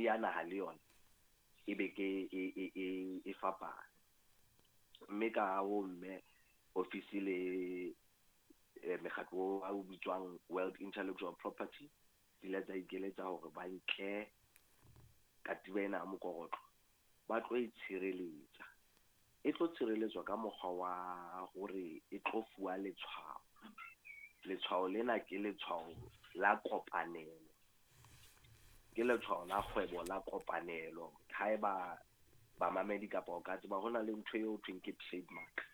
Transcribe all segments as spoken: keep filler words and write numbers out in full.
ya naha le yona e be ke e e e e fapane. Mme ka ho mme ofisi le eh, mekgatlo o bitswang World Intellectual Property di ile tsa ikeletsa hore ba nke katiba ena ya mokorotlo, ba tlo e tshireletsa. E tlo tshireletswa ka mokgwa wa hore e tlo fuwa letshwao. Letshwao lena ke letshwao la kopanelo, ke letshwao la kgwebo la kopanelo. Haeba bamamedi kapa o ka tseba, ho na le ntho eo thweng ke trademark,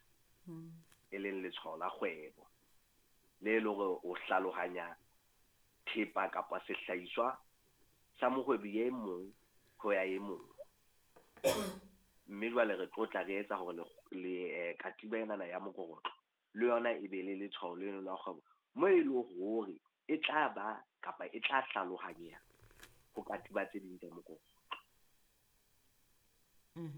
e leng letshwao la kgwebo le le hore o hlalohanya thepa kapa sehlahiswa sa mohwebi e mong ho ya e mong. Mme jwale re tlo tla re etsa hore le, le eh, katiba enana ya mokorotlo le yona e be le letshwao leno la kgwebo, mo e leng hore e tla ba kapa e tla hlalohanyeha ho katiba tse ding tsa mokorotlo.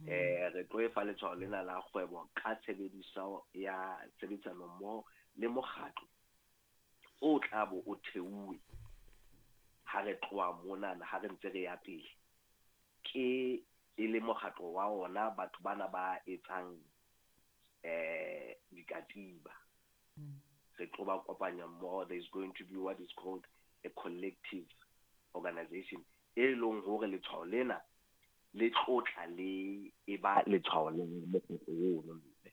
Eh re tlo e fa letshwao lena la kgwebo ka tshebediso ya tshebedisano mmoho le mokgatlo o tla bo o theuwe ha re tloha monana, ha re ntse re ya pele, ke e le mokgatlo wa ona batho bana ba etsang eh dikatiba. Re tlo ba kopanya mmoho. There is going to be what is called a collective organization, e leng hore letshwao lena le tlotla le e ba letshwao le mokgatlo ono mme.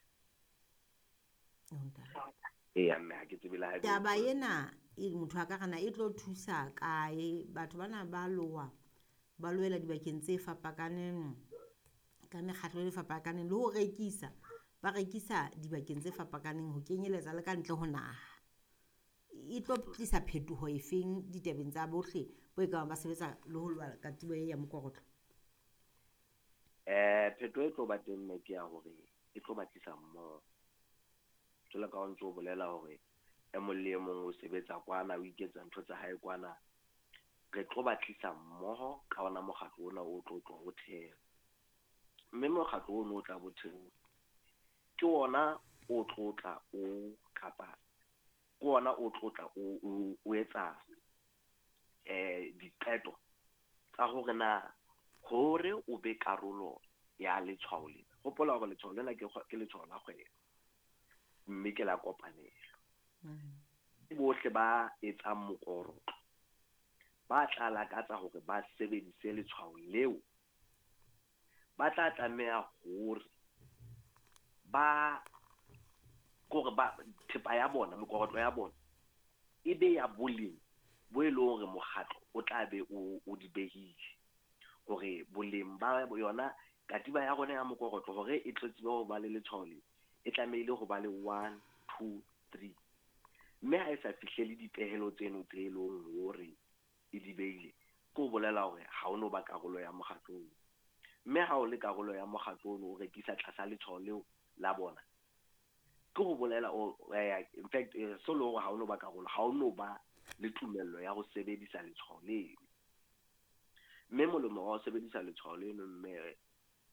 Eya mme, ha ke tsebe le ha ebe- Taba ena e motho a ka rana e tlo thusa kae? Batho bana ba loha, ba loela dibakeng tse fapakaneng ka mekgatlo e fapakaneng, le ho rekisa ba rekisa dibakeng tse fapakaneng, ho kenyeletsa le ka ntle ho naha. E tlo tlisa phetoho efeng ditabeng tsa bohle bo e ka bang ba sebetsa le ho loha katiba e ya mokorotlo? Eh phetoho e tlo ba teng mme ke ya hore e tlo ba tlisa mmoho. Jwalo ka ha o ntso o bolela hore e mong le e mong o sebetsa kwana, o iketsa ntho tsa hae kwana, re tlo ba tlisa mmoho ka ona mokgatlo ona o tlo tlo o theha. Mme mokgatlo ono o tla bo thehuwa ke ona o tlo tla o kapa ke ona o tlo tla o o o etsa eh diqeto tsa hore na hore o be karolo ya letshwao lena. Hopola hore letshwao lena ke ke letshwao la kgwebo mme ke la kopanelo. Bohle ba etsang mokorotlo ba tla lakatsa hore ba sebedise letshwao leo, ba tla tlameha hore ba kore ba thepa ya bona, mekorotlo ya bona e be ya boleng bo e leng hore mokgatlo o tla be o o di behile, hore boleng ba yona katiba ya rona ya mokorotlo hore e tlo tsebe ho ba le letshwao le, e tlamehile ho ba le one, two, three. Mme ha e sa fihlele dipehelo tseno tse leng hore e di behile, ke ho bolela hore ha o no ba karolo ya mokgatlo ono. Mme ha o le karolo ya mokgatlo ono, o rekisa tlasa letshwao leo la bona, ke ho bolela o eh, in fact eh, so le hore ha o no ba karolo, ha o no ba le tumello ya ho sebedisa letshwao leno. Mme molemo wa ho sebedisa letshwao leno mme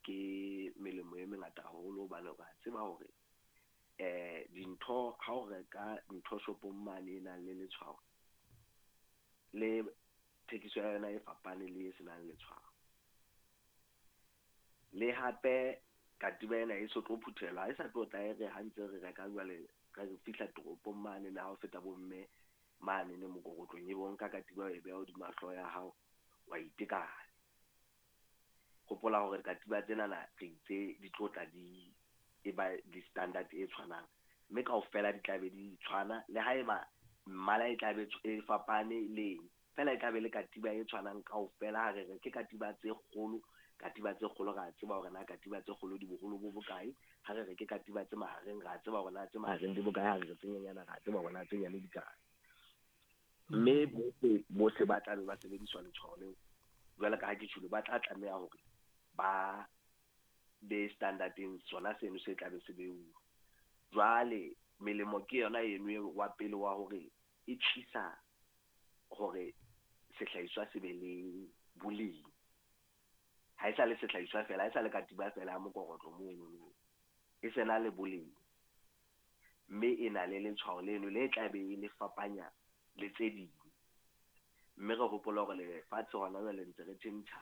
ke melemo e mengata haholo, hobane re a tseba hore eh dintho ha o reka ntho shopong mane e nang le letshwao, le thekiso ya yona e fapane le e senang letshwao. Le hape katiba ena e so tlo phuthelwa, ha e sa tlo tla e re ha ntse re reka jwale re fihla toropong mane le ha o feta bomme mane ne mokorotlong, e bo nka katiba o e beha hodima hlooho ya hao wa itekanya. Hopola hore katiba tsenana re itse di tlo tla di e ba di-standard e tshwanang, mme kaofela di tla be di tshwana, le haeba mmala e tla be e fapane le eng fela, e tla be le katiba e tshwanang kaofela. Ha re re ke katiba tse kgolo, katiba tse kgolo ra tseba hore na katiba tse kgolo di boholo bo bokae. Ha re re ke katiba tse mahareng, ra tseba hore na tse mahareng di bokae. Ha re re tse nyenyana, ra tseba hore na tse nyane di kae. Mme bohle bohle ba tla be ba sebediswa letshwao leo, jwalo ka ha ke tjholo, ba tla tlameha hore ba be standardeng sona seno se tla be se beuwe. Jwale melemo ke yona eno e wa pele wa hore e tlisa hore sehlahiswa se be le boleng. Ha e sa le sehlahiswa fela, ha e sa le katiba fela ya mokorotlo mono, e sena le boleng, mme e na le letshwao leno le tla be e le fapanya le tse ding. Mme re hopola hore lefatshe hona jwale ntse re tjhentjha.